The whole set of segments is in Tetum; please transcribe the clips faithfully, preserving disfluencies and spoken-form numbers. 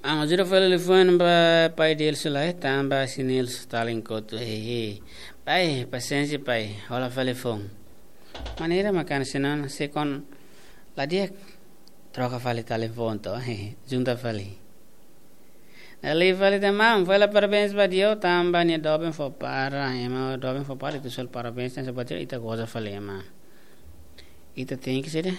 Ajuda fali liafuan ba pai Delso lai, tanba sinál talin kotu, hehe. Pai, pasiénsia pai, hola fali foun. Maneira mak hanesan ne'e, se kon la di'ak, troka fali telefone to, hehe, junta fali. Dala ida fali tan maun, fó hela parabéns ba Dio, tanba nia doben fó para, ema doben fó para, ita fó hela parabéns, tanba ita goza fali ema. Ita tenke saida,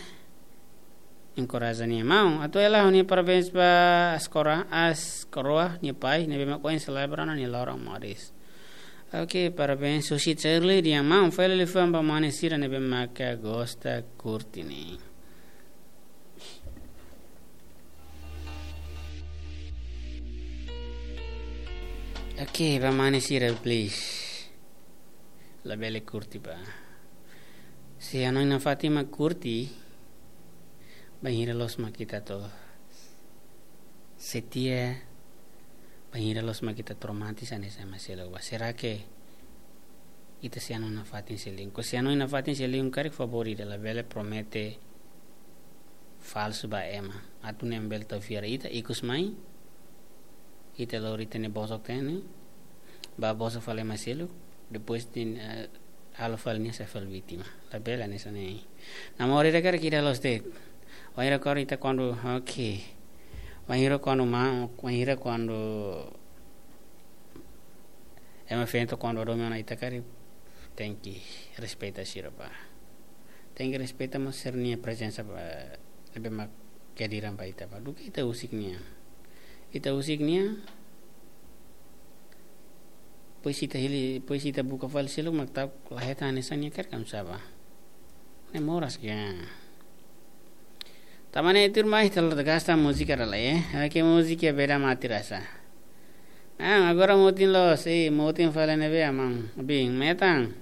enkoraja nia. Maun, atu hela ha'u-nia parabéns ba as koroa, as koroa nia pai, ne'ebé mak ohin selebra ona nia loron moris. Oke, parabéns, Susi Shirley dehan maun, fó hela liafuan ba mane sira ne'ebé maka gosta kurti ne'e. Oke, ba mane sira, please. Labele kurti ba. Se hanoin nafatin mak kurti, bainhira loos mak ita atu setia, bainhira loos mak ita atu romantis hanesan ema seluk ba. Será que ita sei hanoin nafatin sei liu? Ko sei hanoin nafatin sei liu karik, favór ida, labele promete falsu ba ema. Atu nune'e bele tau fiar ita, ikus mai ita lori ita-nia bosok tiha ne'e, bá bosok fali ema seluk, depois ita, eh, halo fali nia sai fali vítima. Labele hanesan ne'e. Namoro ida karik ita loos de'it. Bainhira kuandu ita kuandu, oke. Bainhira kuandu ma, bainhira kuandu ema feto kuandu domin ona ita karik, tenke respeita sira ba. Tenke respeita mós sira-nia prezensa ba, ne'ebé mak kehadiran ba ita ba. Duké ita husik nia. Ita husik nia, depois ita hili, depois ita buka fali seluk mak ta'uk la hetan hanesan nia karik, kamu saba. Ne'e moras ke. Tanba ne'e tuirmai ita la gasta múzika dala, eh. Oke, múzika beda mati rasa. Ah, agora mutin loos, eh, mutin fali ne'ebé, maun. Bin, metan.